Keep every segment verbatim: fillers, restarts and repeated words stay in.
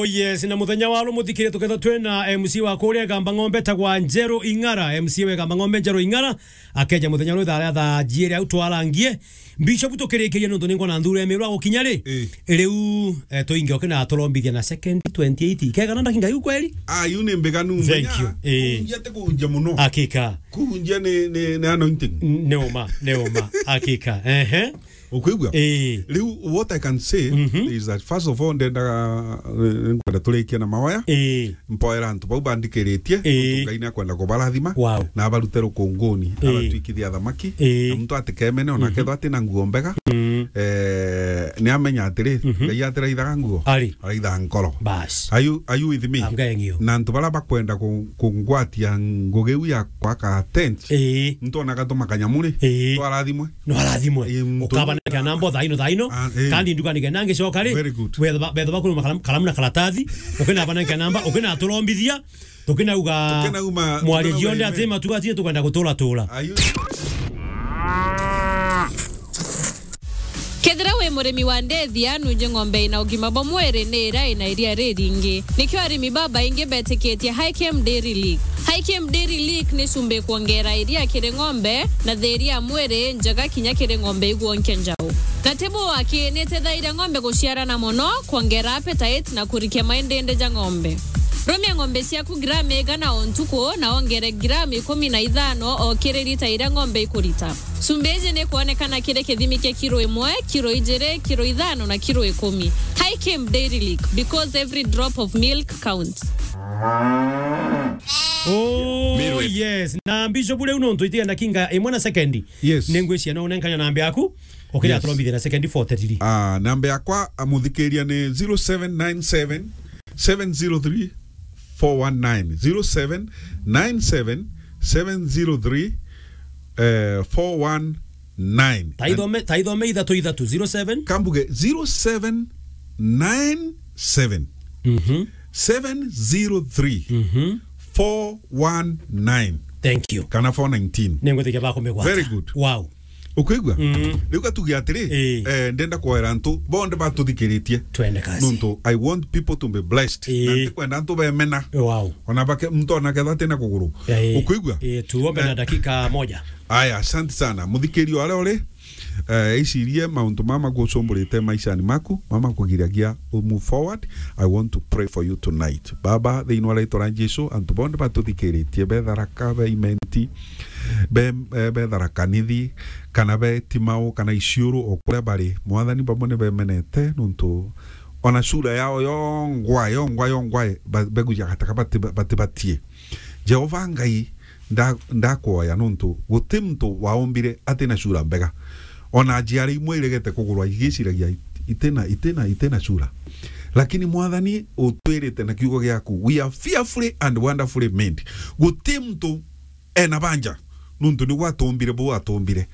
Yes, na muthenya wa ru muthikire tuketha twina M C wa kuria Igamba Ng'ombe etagwa Njeru Ing'ara, M C wa Igamba Ng'ombe Njeru Ing'ara, akeja muthenya ru thaa, thaa jiiri au twarangie. Bishop tukirikirie nontu ningwa na nthuru ya miru agukinya ri. Eh. Riu, eh, tuinge ukina turombithia na second twenty-eight. Kegana ndakinga iu kweli? Ah, iu ni mbiganu. Thank you. Eh. Kunjia ti kunjia muno. Hakika. Kunjia ni, ni, ni anointing. N-, ni uma, ni uma. Hakika. Ehe. Ukwigua? Eh. Riu, what I can say Mhm. is that, first of all, ndendaga, eh, nkwenda turikie na maoya. Eh. Mpoera antu bau bandikiritie, Ii. Nontu Ngai niakwenda kubarathima, Wow. Na abarute rukunguni, Ii. Abatwikithie athamaki, Ii. Na muntu atikemene, ona Mhm. akethwa atina nguo mbega, Mm. eh, niamenya atiri, Mhm. Ngai atiraithaga nguo, Ari. Araithaga nkoro. Bas. Are you, are you with me? I'm getting you. Na antu baria bakwenda ku-, kungwatia ngugi iu ya kwaka tent, Ii. Muntu ona agatuma kanyamu ri, Ii. Twarathimwe. No arathimwe. Ii, muntu Ukaba na kia namba thaino, thaino. Ah, ii. Kandi nduka nigenda ngicoka ri. Very good. Betha ba-, betha bakuru makalamu, kalamu na karatathi. Ukina bana kia namba, ukina turombithia. Tukinauga Tukinauma, mwaria tukinauma jionde ime. Ati matuga ati tukwenda gutura tura. Ayu. Kethira wi murimi wa ndethia, nunje ng'ombe ina ugima bwa mwiri ni iria ina iria riringi. Nikio arimi babaingi betikitie Hikem Dairy Lick. Hikem Dairy Lick ni cumbi kwongera iria kiri ng'ombe na thiiri ya mwiri njega kinya kiri ng'ombe igwonkia njau. Na tibu waki ni itethairia ng'ombe guciarana mono, kwongera appetite na kurikia maindindi ja ng'ombe. Rumia ng'ombe ciaku gramu igana o ntuku na wongere gramu ikumi na ithano o kiri lita iria ng'ombe ikurita. Cumbi iji ni kwonekana kiri kithimi kia kiro imwe, kiro ijiri, kiro ithano na kiro ikumi. Hikem Dairy Lick, because every drop of milk counts. Oh, Mirweth. Yes. Na Bishop, riu nontu itigenda kinga imwe na sekendi. Yes. Ningwiciria no unenkanya namba yaku, ukiri Yes. Aturombithia na sekendi forty three. Ah, namba yakwa, ah, muthikiria ni zero seven nine seven, seven zero three, four one nine. Zero seven nine seven, seven zero three, eh, four one nine. Taithome, taithome ithatu ithatu, zero seven. Kambuge zero seven nine seven, Mhm. seven zero three, Mhm. four one nine. Thank you. Kana four nineteen. Ningwitikia bakumigwata. Very good. Wow. Ukwigua? Mm. Riu gatuge atiri, Ii. Eh, ndenda kwoera antu bonthe batuthikiritie. Twende kazi. Nontu I want people to be blessed. Ii. Na ntikwenda antu bemena. Wow. Ona bake, muntu ona ketha atina kuguru. Ii. Ukwigua? Ii, tuombe na Eh. Dakika moja. Aya, asante sana. Muthikiria aria uri, eh, icirie mauntu mama gucumburite maishani maku, mama kugiragia u move forward. I want to pray for you tonight. Baba, thiini wa ritwa ria Jesu, antu bonthe batuthikiritie, be Tharaka, be Imenti, be, eh, be Tharaka Nithi, kana be Timau, kana Isiuru, o kuria bari, Mwathani, bamwe ni bemenete, nontu ona cura yao yongwa, yongwa, yongwa, ba-, beguja gataka bati-, batibatie. Jehova Ngai, nda-, ndakwoya, nontu guti muntu waumbire atina cura mbega. Ona njiara imwe iregete kugurwa igiciragia it-, itina, itina, itina cura. Lakini Mwathani, utwirite na kiugo giaku, "We are fearfully and wonderfully made." Guti muntu ena banja, nontu nigwe atumbire, bu atumbire.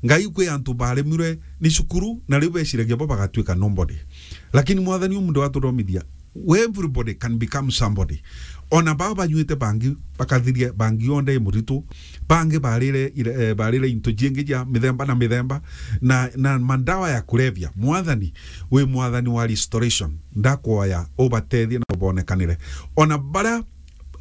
Ngai, kwi antu baremirwe ni cukuru, na riu beciragia bo bagatuika nobody. Lakini Mwathani, umunthi watuthomithia, everybody can become somebody. Ona baa banyuite bangi, bakathiria bangi yonthe i muritu, bangi barire ire-, eh, barire into jingi ja mithemba na mithemba, na, na mandawa ya kulevya. Mwathani, wi Mwathani wa restoration, ndakwoya ubatethie na ubonekanire. Ona baria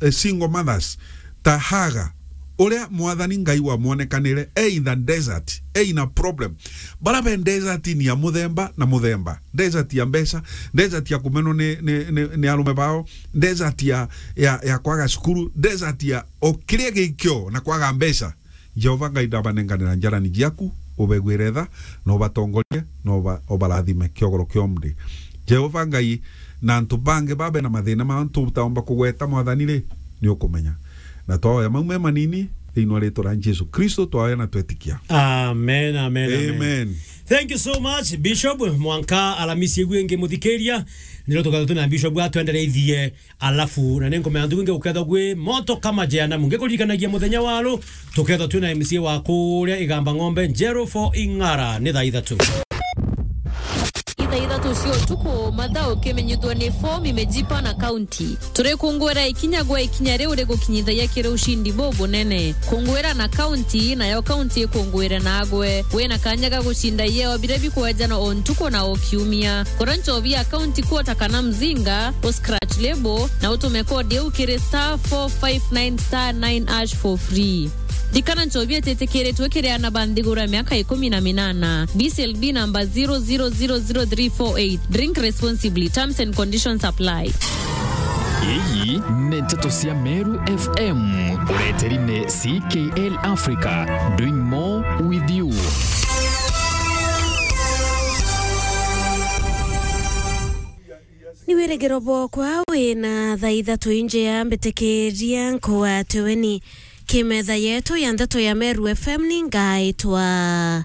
eh, single mothers, ta Haga, uria Mwathani Ngai wamwonekanire, e in the desert, e in a problem. Bara be desert ni ya muthemba na muthemba. Desert ya mbeca, desert ya kumenwo ni, ni, ni, ni arume bao, desert ya, ya, ya kwaga cukuru, desert ya o kiria gikio na kwaga mbeca. Jehova Ngai, ndabanenganira njarani jiaku, ubegwire tha, na ubatongorie, na uba-, ubarathime kiogoro kia umthi. Jehova Ngai, na antu bangi babe na mathina mao tutaomba kugweta, Mwathani ri, ni ukumenya. Na twaoya mau me manini, thiini wa ritwa ria Jesu Kristo, twaoya na twetikia. Amen, amen, amen. Amen. Thank you so much, Bishop. Mwanka Alamisi igu ingi muthikiria, niro tukatha twina Bishop atwendereithie. Alafu, na ninkumenya ntuku ingi gukethwa gwi moto kama jehanamu. Ngikuririkanagia muthenya wa ru, tukethwa twina M C wa kuria Igamba Ng'ombe, Njeru for Ing'ara, ni thaa ithatu. Ithatu cia utuku, mathaa ukimenyithua ni form imejipa na kaunti. Turikunguira ikinya gwa ikinya riu rigukinyithagia kiri ushindi bubunene. Kunguira na kaunti, nayo kaunti ikunguire nagwe. Wina kanya ga gucinda ieo biria bikwejanwa o ntuku na o kiumia. Kura nchobi ya kaunti quota kana mzinga, u scratch label, na utume kodi iu kiri star four five nine star nine hash for free. Ririkana nchobi ititikiritwe kiri aana ba nthiguru ya miaka ikumi na minana. B C L B namba zero zero zero zero three four eight. Drink responsibly. Terms and conditions apply. Iyi ni nteto cia Meru F M. Ureteri ni C K L Africa. Doing more with you. Ni wirigiro bwokwa wina thaa ithatu injia mbitikiria nkugwate weni kimetha yetu ya nteto ya Meru F M ni ngaitwa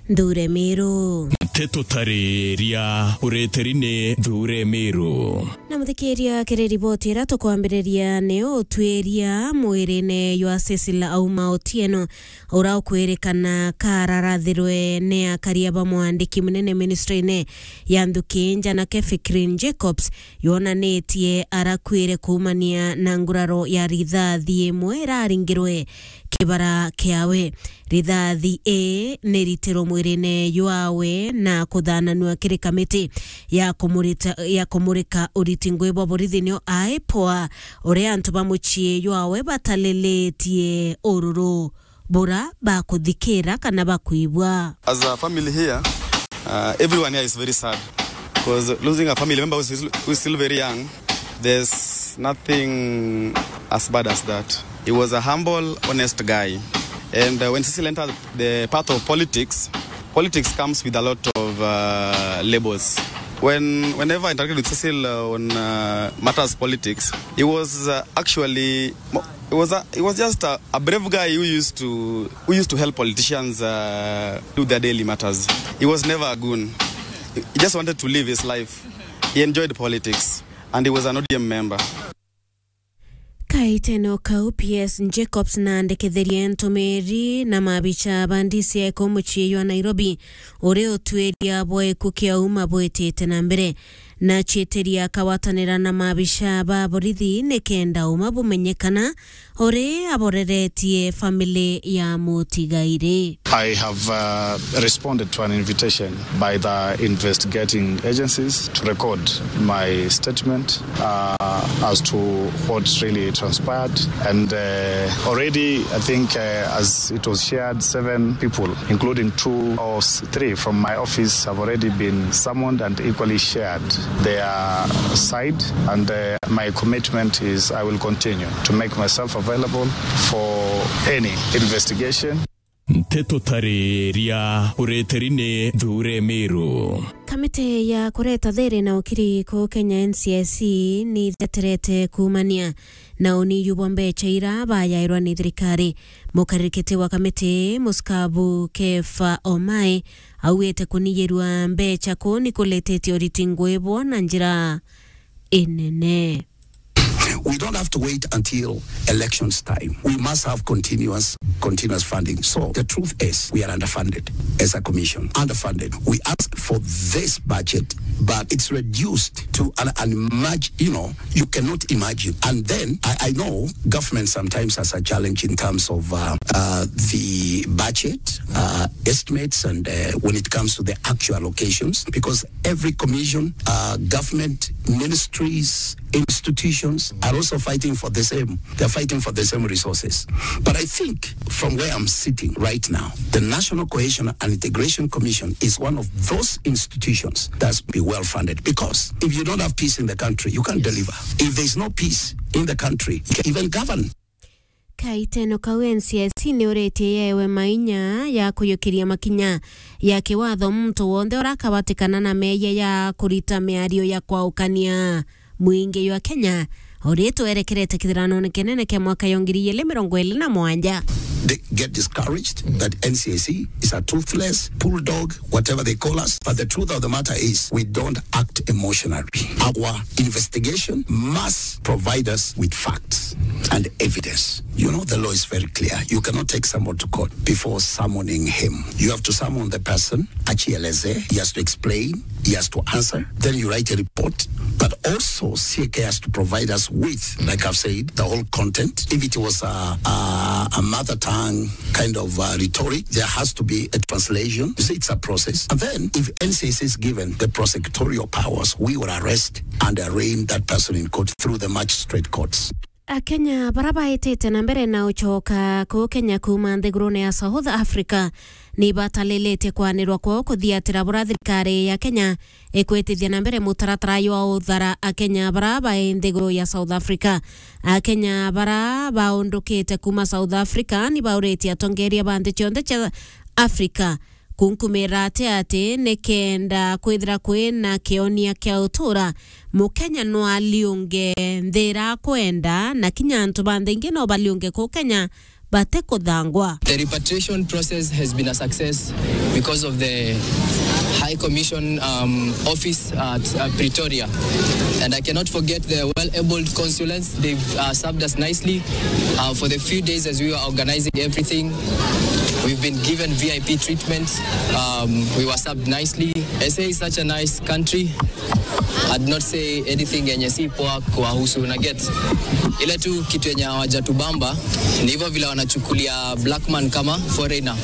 Nthure Miru. Nteto tariria ureteri ni Nthure Miru. Na muthikiria kiri riboti ira tukwambiriria ni utwiria mwirine jwa Cecil Auma Otieno ura ukwirikana kararathirwe ni akaria ba mwandiki munene ministry-ini ya nthuki njanake Fikrin Jacobs, yonanitie arakuire kuumania na nguraro ya rithathi imwe iraringirwe kibara kiawe. Rithathi ii ni ritiro mwirine jwawe na kuthananua kiri kamiti ya kumurita-, ya kumurika uriti ngui bwa borithi nio IPOA, uria antu ba mucii jwawe batalilitie ururu bura bakuthikira kana bakwigua. As a family here, uh, everyone here is very sad because losing a family member who is, who is still very young, there's nothing as bad as that. He was a humble, honest guy. And, uh, when Cecil entered the path of politics, politics comes with a lot of, uh, labels. When, whenever I interacted with Cecil, uh, on, uh, matters politics, he was, uh, actually mo-, He was a, he was just a, a brave guy who used to, who used to help politicians, uh, do their daily matters. He was never a goon. He just wanted to live his life. He enjoyed politics and he was an O D M member. Kaitene o kau, P S Jacobs na andikithirie ntumiri na mabicha ba D C I kuu mucii jwa Nairobi, uri utwiria bwa iku kia Auma bwitite na mbere. Na ciitiria akagwatanira na maabisha ba borithi nikenda uma bumenyekana uri aboreretie family ya mutigairi. I have, uh, responded to an invitation by the investigating agencies to record my statement, uh, as to what really transpired. And, uh, already, I think, uh, as it was shared, seven people, including two or s-, three from my office, have already been summoned and equally shared their side. And, uh, my commitment is I will continue to make myself available for any investigation. Nteto tariria ureteri ni Nthure Miru. Kamiti ya kureta thiri na ukiri ku Kenya, N C I C, ni itheterete kuumania na uniyuu bwa mbecha ira bayairwa ni thirikari. Mukaririkiti wa kamiti, Muskabu Kefa Omai, augite kuniyirwa mbecha kuu ni kuletetie uriti ngui bwo na njira inene. We don't have to wait until elections time. We must have continuous, continuous funding. So the truth is, we are underfunded as a commission. Underfunded. We ask for this budget, but it's reduced to an, an imag-, you know, you cannot imagine. And then I, I know government sometimes has a challenge in terms of, uh, uh, the budget, uh, estimates, and, uh, when it comes to the actual allocations, because every commission, uh, government, ministries, institutions are also fighting for the same. They're fighting for the same resources. But I think from where I'm sitting right now, the National Cohesion and Integration Commission is one of those institutions that's be well funded, because if you don't have peace in the country, you can't deliver. If there's no peace in the country, you can't even govern. Kaiteno kau N C I C ni uritie yewe mainya ya kuyukiria makinya ya kiwatho muntu wonthe ura akabatikana na meeyia ya kurita miario ya kwaukania mwingi jwa Kenya, uri twerekerete kithiranone kinene kia mwaka ya ngiri igiri mirongo iri na mugwanja. they get discouraged that N C I C is a toothless bulldog, whatever they call us. But the truth of the matter is, we don't act emotionally. Our investigation must provide us with facts and evidence. You know, the law is very clear. You cannot take someone to court before summoning him. You have to summon the person, achieleze, he has to explain, he has to answer. Then you write a report. But also, C A K has to provide us with, like I've said, the whole content. If it was a, a, a mother tongue kind of uh, rhetoric, there has to be a translation. You see, it's a process. And then, if N C I C is given the prosecutorial powers, we will arrest and arraign that person in court through the magistrate courts. Akenya bara baitite na mbere na ucoka kuu Kenya kuuma nthigurune ya South Africa ni batalilitie kwanirwa kwao kuthiatira bura thirikari ya Kenya ikwitithia na mbere mutaratara jwa uthara Akenya bara bai nthiguru ya South Africa. Akenya bara baundukite kuuma South Africa ni bauritie atongeria ba nthi cionthe cia Africa kunkumira ati ati ni kenda kwithira kwina kionia kia utura, Mukenya no aliunge nthi ira akwenda, na kinya antu ba nthi ingi no baliunge kuu Kenya batikuthangwa. The repatriation process has been a success because of the High Commission, um, office at, uh, Pretoria. And I cannot forget the well-abled consulants. They've, uh, served us nicely, uh, for the few days as we were organizing everything. We've been given V I P treatment. Um, we were served nicely. S A is such a nice country. I'd not say anything yenye si poa kuwahusu, na get. Ile tu kitu yenye hawajatubamba ni hivyo vile wanachukulia black man kama foreigner.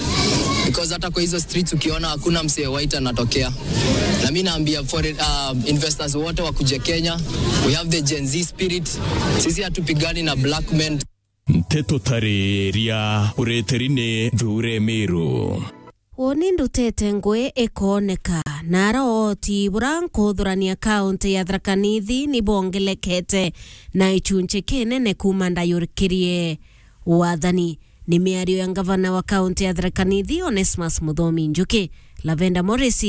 Because hata kwa hizo streets ukiona hakuna msee white anatokea. Na mimi naambia foreign, uh, investors wote wakuje Kenya. We have the Gen Z spirit. Sisi hatupigani na black men. Nteto tariria ureteri ni Nthure Miru. Woni ndutete ngui ikooneka, na ara ooti bura nkuthurania kaunti ya Tharaka Nithi ni bongelekete na ichunchi kinene kuuma ndayurikirie wathani. Ni miario ya ngavana wa kaunti ya Tharaka Nithi, Onesmus Muthomi Njuki. Lavender Morris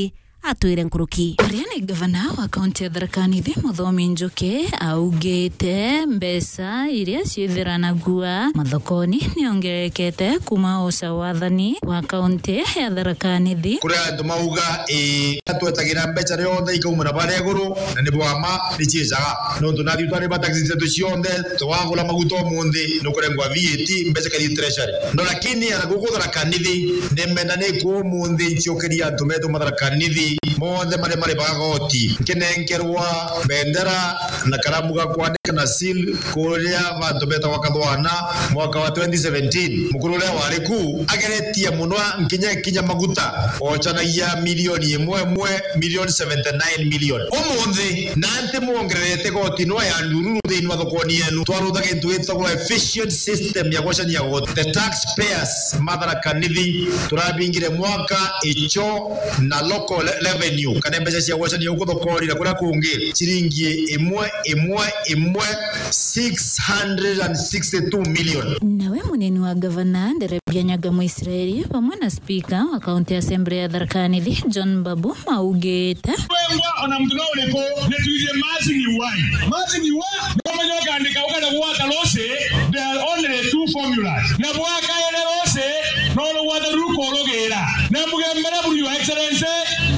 atwire nkuruki. Uria ni ngavana wa kaunti ya Tharaka Nithi, Muthomi Njuki, augite mbeca iria ciithiranagua mathokoni niongerekete kuuma uca wathani wa kaunti ya Tharaka Nithi. Kuri antu mauga, ii, twetagira mbeca rionthe ikaumira baria iguru, na ni bwa ma, ni ciicaga. Nontu nathi twari ba taxi zetu cionthe, twagura maguta umunthi, nukurengwa V A T, mbeca ikathi treasury. No lakini ana guku Tharaka Nithi, ni menda ni ku umunthi ncokeria antu betu ma Tharaka Nithi, monthe maria mari bagoti. Nkinenkerwa bendera na karamu ga kwandika na seal kuria bantu betagwa Kathwana mwaka wa twenty seventeen. Mukuru uria wari ku ageretie muno nkinya kinya maguta, ocanagia milioni imwe imwe, milioni seventy nine million. Umunthi, na nti mwongererete goti no ya ndururu thiini wa thokoni yenu. Twarutha gintu gitagwa efficient system ya gwacania goti. The taxpayers ma Tharaka Nithi, turabingire mwaka, icho na local le-, revenue, kana mbeca cia gwacania guku thokoni na kuria kungi, ciringi imwe, imwe, imwe, six hundred and sixty-two million. Nawe munini wa ngavana, Nderebia Nyaga Mwisraeli, vamwe na spika wa County Assembly ya Tharaka Nithi, John Mbabu, maugite. Wengwa ona mtu no uriku, ni tuithie merging why? Merging why? No menya ukandika ukenda gwata losi, there are only two formulas. Na bwakaere losi, no rugwata rukurugira. Na mugembere buri Your Excellency,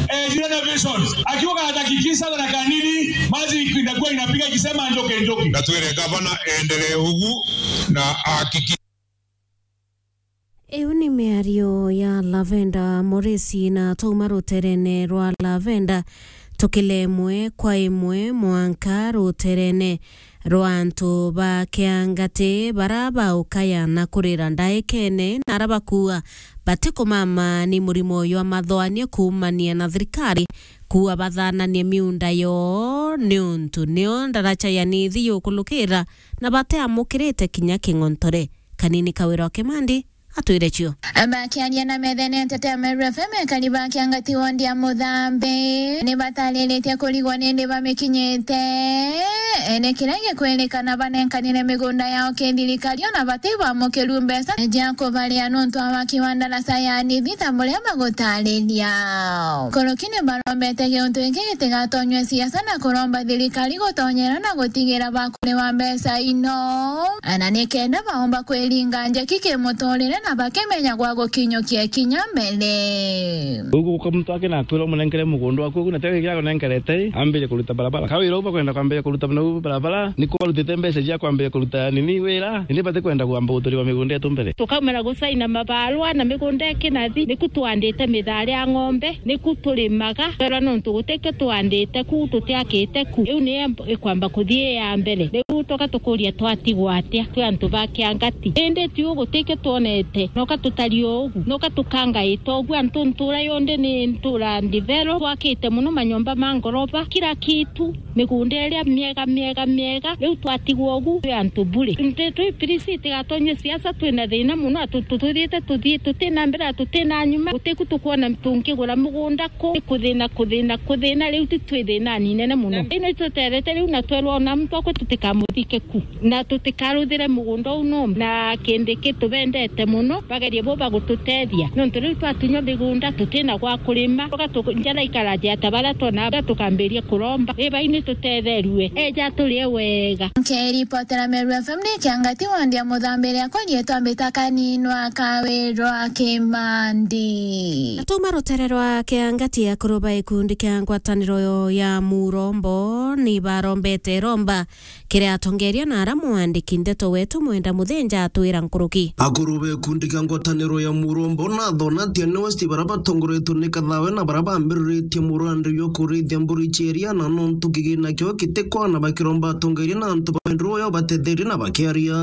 eh, jina na visions. Akiwa anahakikisha Tharaka Nithi, merging inakuwa inapiga ikisema njoke njoke. Na twire gavana endelee ugu na ahakikishe. Iu ni miario ya Lavender Morisi, na twauma ruterene rwa Lavender, tukile imwe kwa imwe mwanka ruterene rwa antu ba Kiangati bara baukaya na kurira ndaikene na ara bakuua batikumama ni murimo jwa mathoania kuumania na thirikari kuua bathananie miunda yoo niuntu nio ndaraca ya Nithi yukulukira na bateamukirite kinya king'ontore. Kanini Kawira wa Kimandi atwire cio. Bakiaria na methene nteto ya Meru F M, ekari ba Kiangati wondi ya Muthambi ni batariritie kurigwa nindi bamikinyite. Ene kiria gikwirikana banenkanire migunda yao kithirikari ona bati bamukiru mbeca cia kubaria nontu wa waki wa ndaraca ya Nithi ta buria bagutariria. Nkuruki ni barombete giuntu giki gitigatonywe siasa na kuromba thirikari gutonyera na gutigira bakuriwa mbeca ino, na ni kenda baomba kwiringa njeki kimuturire na bakimenya gwa gukinyukia kinya mbere. Uguo uka muntu ake na akwira umunenkere mugunda waku ugu, na tege kiago nenkerete, ambire kuruta barabara. Kawira uba kwenda kwambia kuruta na barabara, ni kubarutite mbeca cia kwambia kuruta nini wira, ni bati kwenda kwamba guturiwa migunda yetu mbere. Tukaumira gusaina mabarua na migunda ikinathi, niku twandite mithari ya ng'ombe, niku turimaga, twera nontu gutikio twandite ku, tutiakite ku. Iu ni ikwamba kuthii ya mbere. Riu tuka tukuria twatigwa atia twi antu ba Kiangati? Indi tiu gutikio twonete, noka tutari ugu, noka tukangaita ugu. Antu ntura yonthe ni ntura ndithero, twakite mono manyomba ma ngoroba, kila kitu, migunda iria miega, miega, miega. Riu twatigwa ugu, twi antu bure. Nti twi pirisi, itigatonywe siasa, twina thina mono, atu tuthiite tuthii, tutina mbere, tutina nyuma, gutiku tukwona tungigura mugunda ku, ni kuthina, kuthina, kuthina, riu ti twi thinani inene mono. Ino ituterete riu na twerwa ona muntu akwe tutikamuthike ku, na tutikaruthire mugunda uu no, na kindi ki tubendete mono, bagerie bo bagututethia, nontu riu twatunywa migunda, tutina gwa kurima, tuga tu-, njara ikaraja ta baria twona, tukambiria kuromba, ibai ni tutetherue, eja turie wega. Nkiripotera Meru F M ni Kiangati wandi ya Muthambiri, akwa rietwa mbita Kaninwa Kawirwa Kimandi. Atuma rutere rwa Kiangati, akuru ba gikundi kia ngwataniro ya Murombo ni barombete romba kiri atongeria na ara mwandiki ndeto wetu Mwenda Muthinja atwira nkuruki. Akuru ba gikundi kia ngwataniro ya Murombo na Thona Tiani West bara batongoretwe ni Kathawe na bara bambiriritie murandi jwa kurithia mburi cia iria, na nontu kigina kio gitikwana bakiromba atongeria na antu ba wendo uyo batetherie na bakiaria.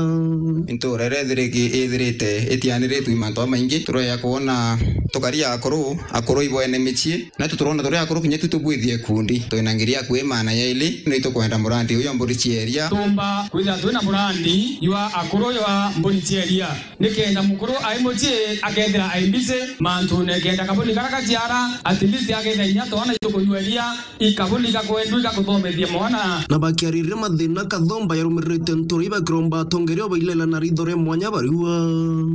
Ntura iria ithiriki-, ithirite itianiritwe i mantu jamaingi, tureja kwona tukaria akuru, akuru ibo ene micii, na tu turona turi akuru kinya tu tubwithie ikundi. Twina ngiri ya kwi maana yaili, ni tukwenda murandi uyu wa mburi cia iria. Tumba kwithira twina murandi jwa akuru jwa mburi cia iria, nikenda mukuru ai mucii akethira ai busy mantune, kenda kabuni kara gaciara, at least akethira inya twana itukunywa iria, ikabuni gakwendwa igakuthomethia mwana. Na bakiaririria mathina Kathomba yarumiririte ntura ibakiromba atongeria obailela na ritho ria mwanya bariua.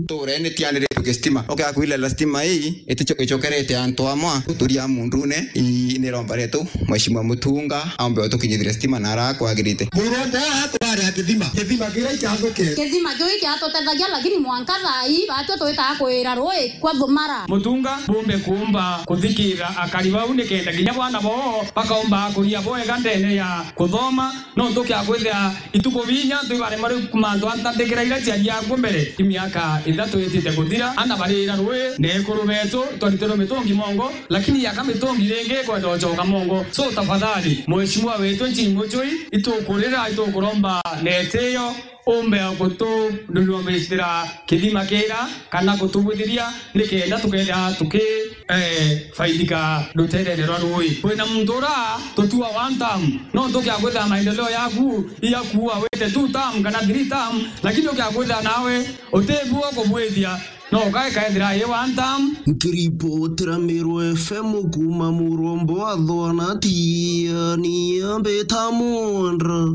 Ntura ene tianiritwe gistima, ukia kwilela stima ii, itico-, icokerete antu amwe, guturia mundune, i-, ni romba rietu, Mheshimiwa Mutunga, aombe utukinyithire stima na ara kwagirite. Murombo atware a kithima, kithima kiria ikiathuke. Kithima kiu ikiatutethagia, lakini mwanka thaa ii, batwe twitaa kwira rui kwa thumara. Mutunga bumbe kuumba kuthikira akari bau, nikenda kinya bwana boo bakaumba kuria bwega ndene ya kuthoma. No ntukia kwithira ituku binya ntu ibarema riu mantu antandikira iria ciaria akuo mbere. I miaka ithatu itite kuthira, ana barira rui, na ekuru betu twaritirwe mitungi mongo, lakini yaka mitungi ringi ikwenda ucoka mongo. So tafadhali, mheshimiwa wetu Jim Muchui, itukurira, itukuromba na itio, umbe gutundurumbicira kithima kira, kana gutubwithiria, nikenda tukethira tuki eh, faidika ruterene rwa rui. Kwina muntu ura tutua one term, no ntukia kwithira maendeleo yaku iyakuua wite two term kana three term, lakini ukia kwithira nawe utibuo kubwithia, no ukae kaethira i one term. Nkiripotera Meru F M kuuma Murombo wa Thwana, Tiani Ambita Mwandra.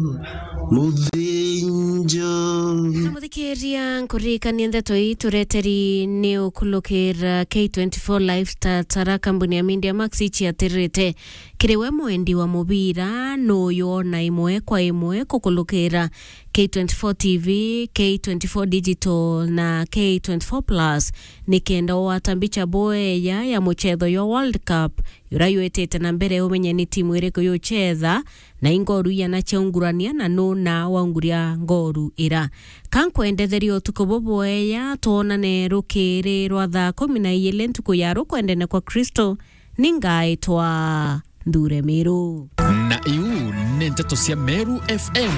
Muthinja. Na muthikiria, nkuririkanie ndeto ii tureteri ni ukulukira K twenty-four Lifestyle Tara, kambuni ya Media Max iciatirite kiri we mwendi wa mubira, nuyu ona imwe kwa imwe kukulukira K twenty-four T V, K twenty-four Digital na K twenty-four Plus, nikenda ugwata mbicha bweya ya muchetho jwa World Cup, uria jwitite na mbere, umenye ni timu iriku yuchetha, na i ngoru iana ciaungurania, na nuna waunguria ngoru ira. Ka nkwendetheria utuku bubweya, twonane rukiri rwa thaa kumi na iili ntuku ya rukwendene kwa Kristo. Ni ngaitwa Nthure Miru. Na iu ni nteto cia Meru F M,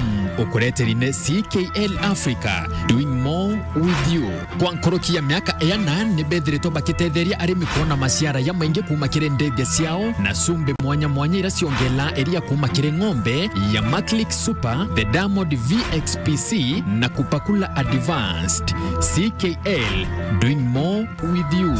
ukureteri ni C K L Africa, doing more with you. Kwa nkuruki ya miaka iana, ni bethiritwe bakitetheria arimi kwona maciara jamaingi kuuma kiri ndithia ciao, na cumbi mwanya mwanya iria ciongelaa iria kuuma kiri ng'ombe ya Maclick Super, the Diamond V X P C, na Kupakula Advanced. C K L, doing more with you.